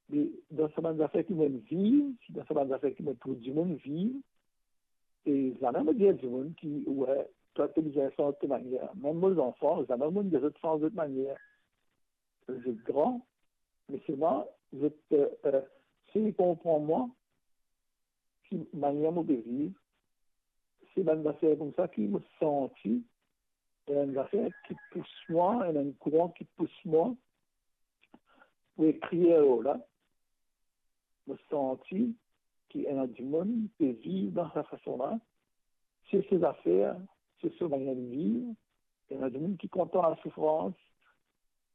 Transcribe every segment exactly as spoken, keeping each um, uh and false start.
Me dan sa bann zafer ki mo'nn viv, dan sa bann zafer ki mo trouv dimoun viv, e zame mo dir dimoun ki, we, twa to bizin sanz to manier. Mem mo zanfan, zame mo'nn dir zot sanz zot manier. Zot gran, me selman zot, eh, eh, sey konpran mwa, ki manier mo pe viv, se bann zafer koumsa ki mo santi, ena enn zafer ki pous mwa, ena enn kouran ki pous mwa pou ekrir lor la. Mo santi ki ena dimoun pe viv dan sa fason la, se so zafer, se so manier de viv. Ena dimoun ki kontan lasoufrans,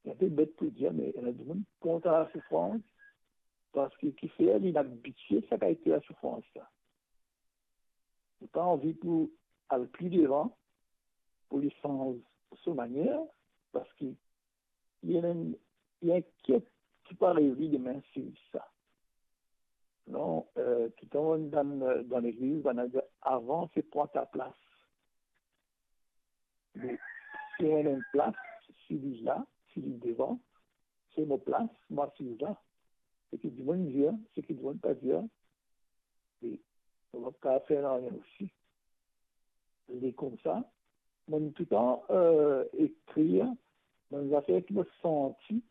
se inpe bet pou dir, me ena dimoun ki kontan lasoufrans, parski kifer li inn abitie sa kalite lasoufrans la. Li pa anvi pou al pli devan, pou li sanz so manier, parski li ena enn, li inkiet ki pou ariv li demin si li sa. Non, eh, toutan dan, dan legliz, bann dir, avans e pran ta plas. Me si ena enn plas, si li la, si li devan, se mo plas, mo asiz la. Seki dimoun dir, seki dimoun pa dir, e mo pa kapav fer nanye osi. Li koumsa, mo'nn toutan, eh, ekrir bann zafer ki mo santi,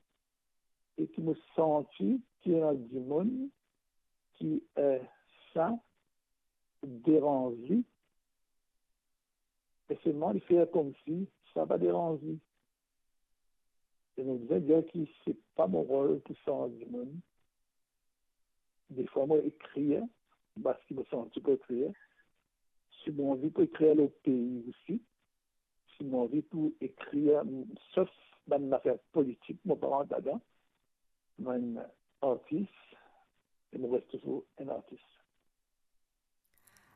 e ki mo santi ki ena dimoun ki, eh, sa deranz li, e selman li fer koumsi sa pa deranz li. E mo bizin dir ki se pa mo rol pou sanz dimoun. Defwa mo ekrir parski mo santi pou ekrir. Si mo anvi pou ekrir lor pei osi, si mo anvi pou ekrir, sof bann zafer politik, mo pa rant ladan. Mo enn artis, e mo res touzour enn artis.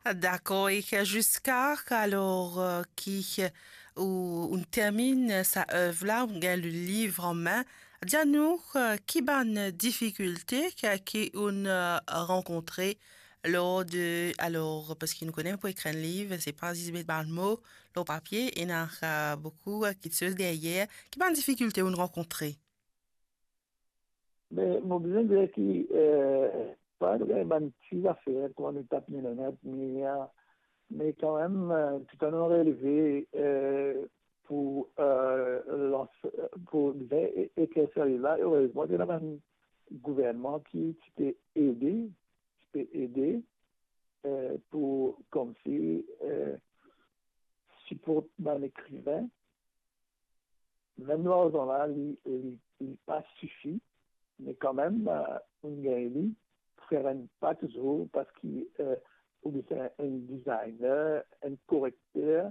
Dakor, e ziska alor, eh, ki, eh, ou, ou terminn sa ev la, ou gagn le liv an me, dir nou, eh, ki bann difikilte ki, ki ou'nn, eh, rankontre lor de, alor, parski nou kone pou ekrir enn liv, se pa zis met bann mo lor papie, ena, eh, boukou, eh, kiksoz deryer. Ki bann difikilte ou'nn rankontre? Me mo bizin dir ki, eh, pa gagn bann ti zafer kouma nou tap mennen, me, eh, me kanmem, eh, toutan nou releve, eh, pou, eh, lans, pou bizin e-, ekrir sa liv la, erezman, ti ena bann gouvernman ki ti pe ede, ti pe ede, eh, pou koumsi, eh, siport bann ekriven. Mem larzan la, li, li, li pa sifi, me kanmem, eh, ou'nn gagn li pou fer enn pa touzour, parski, eh, ou bizin enn designer, enn korekter.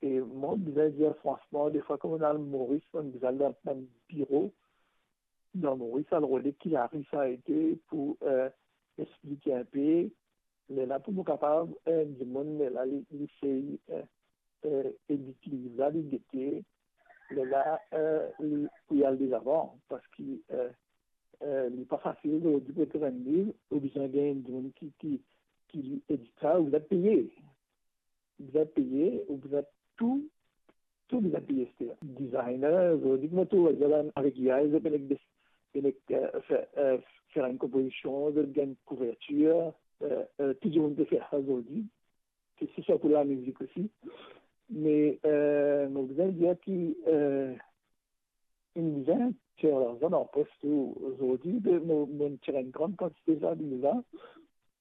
E mo bizin dir fransman, defwa, kouma al Moris, mo'nn bizin al dan bann biro dan Moris, al rode ki lari sa ete pou, eh, explike inpe. Lerla pou mo kapav, eh, dimoun, lerla li, li sey, eh, eh, edik liv la, li gete, lerla, eh, li pou al dezavan, parski, eh, eh, li pa fasil, zordi pou ekrir enn liv, ou bizin gagn enn dimoun ki, ki, ki li edik sa, ou bizin peye. Ou bizin peye, ou bizin tou, tou bizin peye aster. Designer, zordi, kouma tou, zot avek A I, zot pe nek des-, pe nek, eh, fer, eh, fer enn konpozision, zot gagn kouvertir, eh, eh, tou dimoun pe fer sa zordi. Ke se swa pou lamizik osi. Me, eh, mo bizin dir ki, eh, inn bizin tir larzan dan pos tou. Zordi, de, mo, mo tir enn gran kantite sa deza.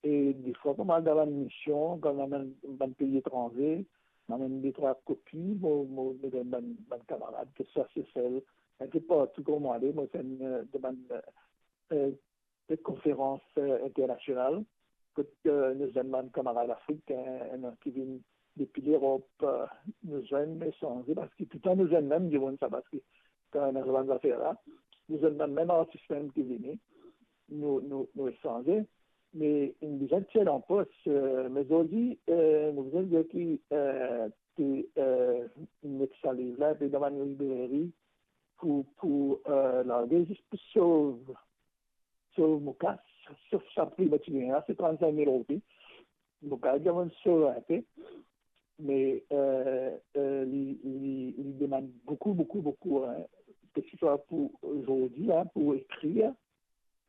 E defwa, kan mo al dan bann mision, kan mo al dan bann pei etranze, mo amenn de trwa kopi, mo, mo, mo donn bann, bann kamarad, ke swa Sesel, inpe partou kot mo ale, mo fer enn, eh, de bann, eh, de konferans, eh, internasional, kot, eh, nou zwenn bann kamarad Afrik, eh, ena ki vinn depi Lerop, eh, nou zwenn, nou esanze, parski toutan nou zwenn mem dimoun sa, parski kan ena sa bann zafer la, nou zwenn bann mem artis mem ki vini, nou, nou, nou esanze, me inn bizin tir dan pos, eh, me zordi, eh, mo bizin dir ki, eh, pe, eh, met sa liv la, pe dan bann libreri, pou, pou, eh, large, zis pou sov, sov mo kas, sof sa pri mo ti gagn la, se trant-sink mil roupi. Mo kapav dir mo'nn sov inpe, me, eh, eh, li, li, li demann boukou, boukou, boukou, hein. Ke se swa pou zordi la, pou ekrir,